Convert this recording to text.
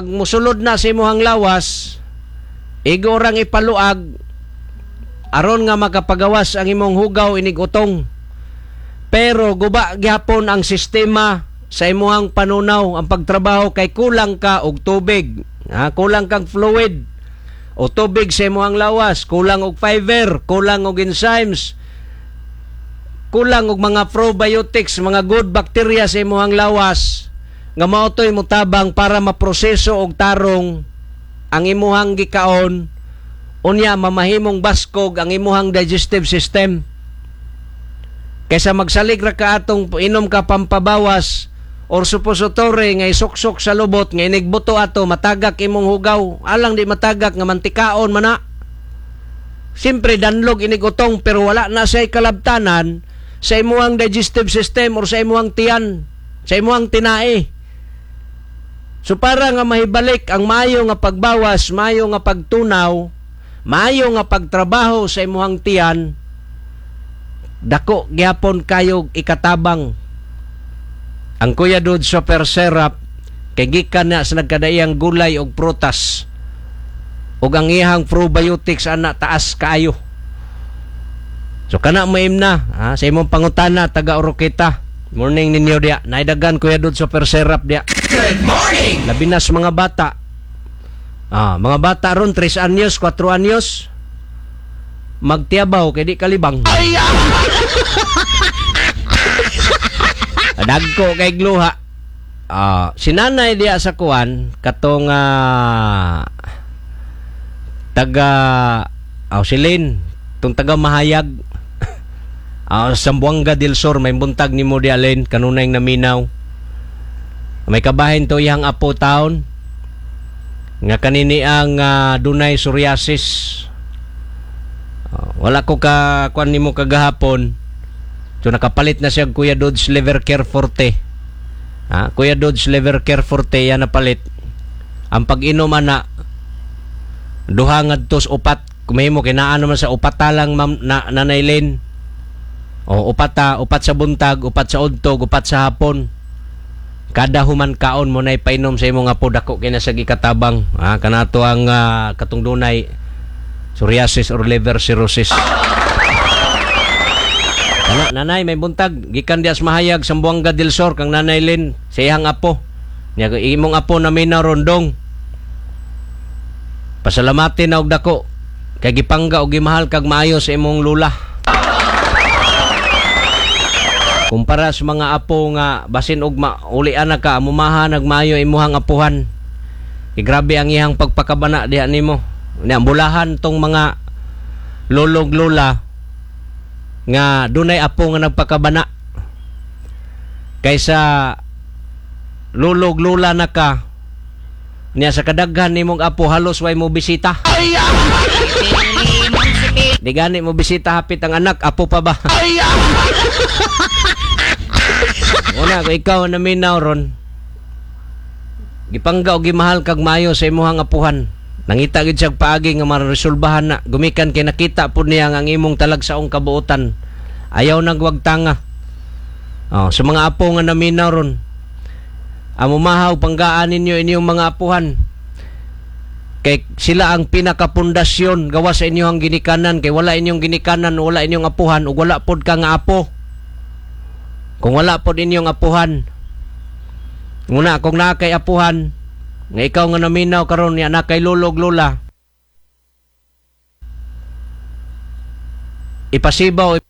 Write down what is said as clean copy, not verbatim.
Musulod na sa imuhang lawas, igo rang ipaluag aron nga makapagawas ang imong hugaw inig utong. Pero guba gyapon ang sistema sa imuhang panunaw, ang pagtrabaho, kay kulang ka og tubig. Ha, kulang kang fluid o tubig sa imuhang lawas, kulang og fiber, kulang og enzymes, kulang og mga probiotics, mga good bacteria sa imuhang lawas nga mao toy motabang para maproseso og tarong ang imuhang gikaon, unya mamahimong baskog ang imuhang digestive system. Kaysa magsalig ra ka atong inom ka pampabawas or suppository nga isuksok sa lubot nga inigbuto ato, matagak imong hugaw, alang di matagak nga mantikaon man na. Siyempre danlog inigutong, pero wala na siya kalabtanan sa imuhang digestive system or sa imuhang tiyan, sa imuhang tinae. So para nga mahibalik ang maayo nga pagbawas, maayo nga pagtunaw, maayo nga pagtrabaho sa imuhang tiyan, dako gyapon kayo ikatabang ang Kuya Dud's Super Syrup, kay gikan na sa nagkadaiyang gulay og prutas, ug ang iyang probiotics ana taas kaayo. So kana maim na ha, sa imong pangutana taga Oroqueta. Morning ninyo diya. Naidagan Kuya Dud's Super Syrup diya. Good morning. Labi na sa mga bata. Mga bata ron 3 anyos, 4 anyos, magtiyabaw kay di kalibang. Dagko kay gluha. Si nanay diya sa kuan katong taga Silin, tong taga Mahayag. Zamboanga del Sur, may buntag nimo diya Lin, kanunay naminaw. May kabahin to iyang apo taon nga kanini ang dunay psoriasis. Wala ko ka kuan nimo kagahapon. So nakapalit na siya Kuya Dodge Liver Care Forte. Ha, Kuya Dodge Liver Care Forte yan napalit. Ang pag-inom ana duha ngadto sa upat, kumahimo kinaan naman sa upat talang ma'am na, Nanay Lynn. O upat ta, upat sa buntag, upat sa udtog, upat sa hapon. Kada human kaon mo na ipainom sa imong apo, dako kay na sa gikatabang. Ha, kanato ang katong dunay psoriasis or liver cirrhosis. Kana, nanay, may buntag gikan dias Mahayag, Zamboanga del Sur, kang Nanay Lynn sa iyang apo. Nya imong apo na minaw rondong. Pasalamatin na og dako kay gipangga og gimahal kag maayo sa imong lula. Kumpara sa mga apo nga basin og maulian na ka, amumaha nagmaayo imuhang apuhan. Kay grabe ang iyang pagpakabana diha nimo. Nya bulahan tong mga lolog lola nga dunay apo nga nagpakabana kaysa lulog lula na ka niya sa kadaghan nimong apo halos way mo bisita. Di gani mo bisita hapit ang anak, apo pa ba? Una, kung ikaw na minaw ron, gipangga o gimahal kag maayo sa imuhang apuhan. Nangita gid siya paagi nga maresolbahan na. Gumikan kay nakita pud niya ang imong talagsaong kabuotan. Ayaw nagwag tanga. Oh, sa mga apo nga naminaw ron, amumahaw panggaan ninyo inyong mga apuhan. Kay sila ang pinakapundasyon gawa sa inyong ginikanan. Kay wala inyong ginikanan, wala inyong apuhan, ug wala pod ka nga apo. Kung wala pod inyong apuhan, nguna kung naa kay apuhan nga ikaw nga naminaw karon niya na kay lolog lola, ipasibaw